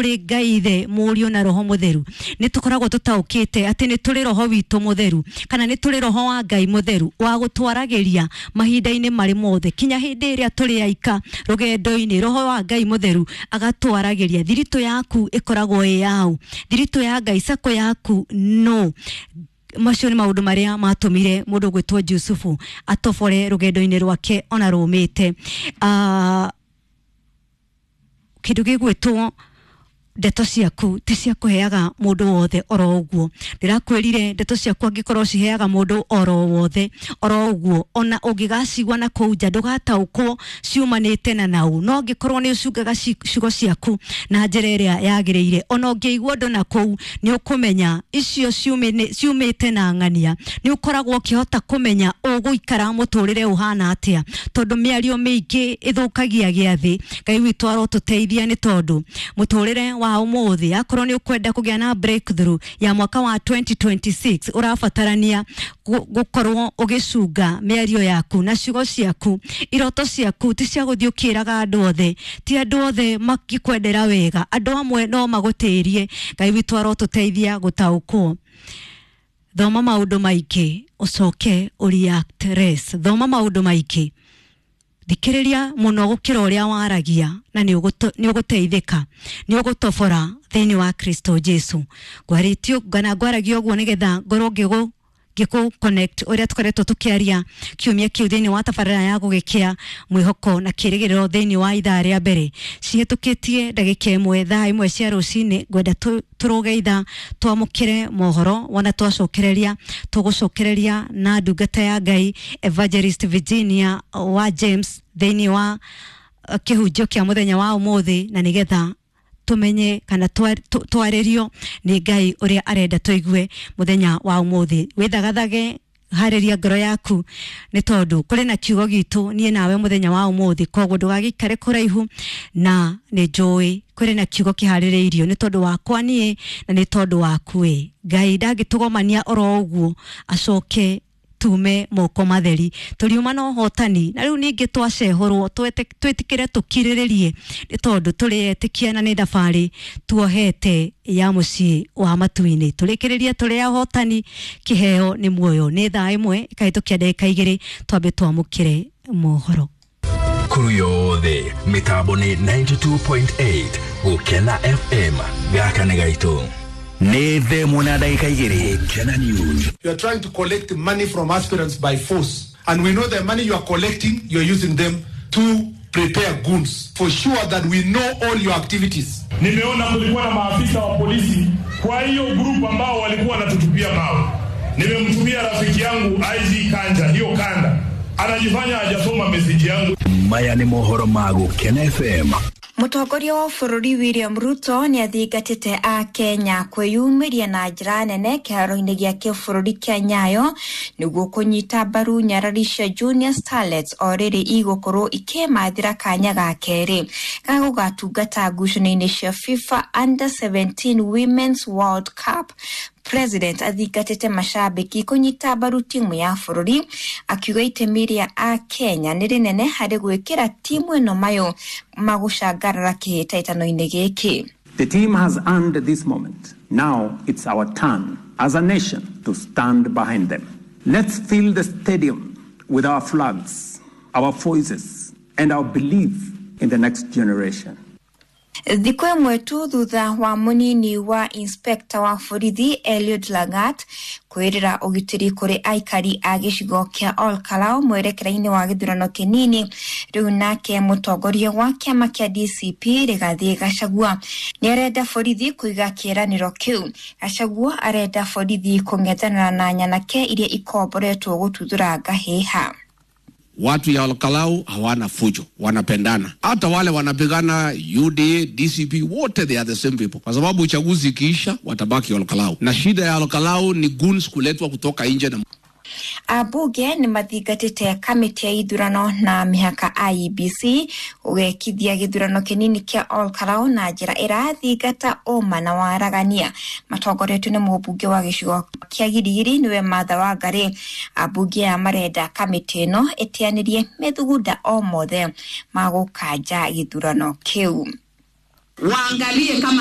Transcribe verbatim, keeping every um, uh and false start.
Kũrĩ Ngai Ithe, Mũriũ na Roho Mũtheru, nĩ tũkoragwo tũtaũkĩte atĩ nĩ tũrĩ Roho witũ Mũtheru, kana nĩ tũrĩ Roho wa Ngai Mũtheru wa gũtwaragĩria mahinda-inĩ marĩ mothe, kinya hĩndĩ ĩrĩa tũrĩ aika rũgendo-inĩ. Roho wa Ngai Mũtheru agatwaragĩria. Thiritũ yaku ĩkoragwo ĩ yau? Thiritũ ya Ngai, sako yaku no. Macio nĩ maũndũ marĩa matũmire mũndũ gwĩtwo Jusufu atobore rũgendo-inĩ rwake ona rũmĩte. uh, kĩndũ gĩgwĩtwo ndeto ciaku ti cia kũheaga mũndũ wothe oro ũguo. Ndĩrakwĩrire, ndeto ciaku angĩkorwo ciheaga mũndũ oro wothe oro ũguo, ona ũngĩgacigua na kũu nja, ndũgataũkwo ciumanĩte na nau. No angĩkorwo nĩ ũcungaga ciugo ciaku na njĩra ĩrĩa yagĩrĩire, ona ũngĩigua ũndũ na kũu, nĩ ũkũmenya icio ciumĩte na ng'ania. Nĩ ũkoragwo ũkĩhota kũmenya ũgũikara mũtũrĩre ũhana atĩa, tondũ mĩario mĩingĩ ĩthũkagia gĩathĩ. Ngai witũ arotũteithia, nĩ tondũ mũtũrĩre wa ũmũthĩ, akorwo nĩ ũkwenda kũgĩa na breakthrough ya mwaka wa twenty twenty-six, ũrabatarania gũkorwo ũgĩcunga mĩario yaku na ciugo ciaku. Iroto ciaku ti cia gũthiĩ ũkĩraga andũ othe. Ti andũ othe makĩkwendera wega, andũ amwe no magũtĩrie. Ngai witũ arotũteithia gũtaũkwo. Thoma maũndũ maingĩ, ũcoke ũreact less. Thoma maũndũ maingĩ, thikĩrĩria mũno gũkĩra ũrĩa waragia, na nĩ ũgũteithĩka, nĩ ũgũtobora thĩinĩ wa Kristo Jesu. Ngwarĩtio kana ngwaragia ũguo nĩgetha ngorwo ngĩgũ ngĩkũ connect ũrĩa tũkoretwo tũkĩaria kiumia kĩu thĩinĩ wa tabarĩra ya Gũgĩkĩa, mwĩhoko na kĩrĩgĩrĩro. Thĩinĩ wa ithaa rĩa mbere, cihĩtũkĩtie ndagĩka ĩmwe thaa ĩmwe cia rũcinĩ, ngwenda tũrũge ithaa twamũkĩre mohoro. Wona twacokereria, tũgũcokereria na ndungata ya Ngai Evangelist Virginia wa James thĩinĩ wa kĩhunjio kĩa mũthenya wa ũmũthĩ, na nĩgetha tumenye kana twarĩrio nĩ Ngai ũrĩa arenda tũigue mũthenya wa ũmũthĩ. Wĩthagathage, harĩria ngoro yaku, nĩ tondũ kũrĩ na kiugo gitũ niĩ nawe mũthenya wa ũmũthĩ. Koguo ndũgagĩikare kũraihu, na nĩ njũĩ kũrĩ na kiugo kĩharĩrĩirio nĩ tondũ wakwa niĩ na nĩ tondũ waku. Ĩ Ngai ndangĩtũgomania oro ũguo acoke tume moko matheri. Tũriuma na ũhotani. Na rĩu ningĩ twacehũrwo, twĩtĩkĩre, tũkirĩrĩrie, nĩ tondũ tũrĩ etĩkia na nĩ thabarĩ tuohete ya mũciĩ wa matu-inĩ. Tũrĩkĩrĩrie tũrĩ ahotani. Kĩheo nĩ muoyo. Nĩ thaa ĩmwe ĩkahĩtũkia ndagĩka igĩrĩ, twambe twamũkĩre mohoro. Kuru yothe mitambo nĩ ninety-two point eight Gũkena F M. Gaka nĩ gaitũ. Nĩ thaa ĩmwe na ndagĩka igĩrĩ. Gũkena News. You are trying to collect money from aspirants by force. And we know the money you are collecting, you are using them to prepare goons. For sure that we know all your activities. Nimeona kulikuwa na maafisa wa polisi kwa hiyo group ambao walikuwa wanatutupia mawe. Nimemtumia rafiki yangu I G Kanja hiyo kanda, anajifanya hajasoma meseji yangu. Maya nĩ mohoro ma Gũkena F M. Mũtongoria wa bũrũri William Ruto nĩ athingatĩte a Kenya kwĩyumĩria na njĩra nene kĩharo-inĩ gĩa kĩbũrũri kĩa Nyayo nĩguo kũnyita mbaru nyarari cia Junior Starlets o rĩrĩ igũkorwo ikĩmathĩra kanya ga kerĩ ga gũgatungata ngucanio-inĩ cia FIFA Under seventeen Women's World Cup. President athingatĩte macambĩki kũnyita mbaru timu ya bũrũri, akiuga itemi rĩa a Kenya nĩ rĩnene harĩ gwĩkĩra timu ĩno mayũ magũcangarara kĩhĩtahĩtano-inĩ gĩkĩ. The team has earned this moment. Now it's our turn as a nation to stand behind them. Let's fill the stadium with our flags, our voices, and our belief in the next generation. Thikũ ĩmwe tu thutha wa mũnini wa inspector wa borithi Eliud Langat kwĩrĩra ũgitĩri kũrĩ aikari a gĩcigo kĩa Olkalou mwerekera-inĩ wa gĩthurano kĩnini, rĩu nake mũtongoria wa kĩama kĩa D C P Rigathi Gachagua nĩ arenda borithi kũiga kĩĩranĩro kĩu. Gachagua arenda borithi kũng'ethanĩra na nyanake iria ikomboretwo gũtuthũra ngahĩha. Watu ya Olkalou hawana fujo, wanapendana. Hata wale wanapigana U D A, D C P, wote they are the same people, kwa sababu uchaguzi ikiisha watabaki Olkalou, na shida ya Olkalou ni goons kuletwa kutoka nje na Ambunge nĩ mathingatĩte kamĩtĩ ya ithurano na mĩhaka I E B C gũgekithia gĩthurano kĩnini kĩa Olkalou na njĩra ĩrathingata ũma na waragania, matongoretio nĩ mũmbunge wa gĩcigo kĩa Girigiri nĩwe Martha Wangari. Ambunge aya marenda kamĩtĩ ĩno ĩteanĩrie methugunda o mothe ma gũkanja gĩthurano kĩu. Waangalie kama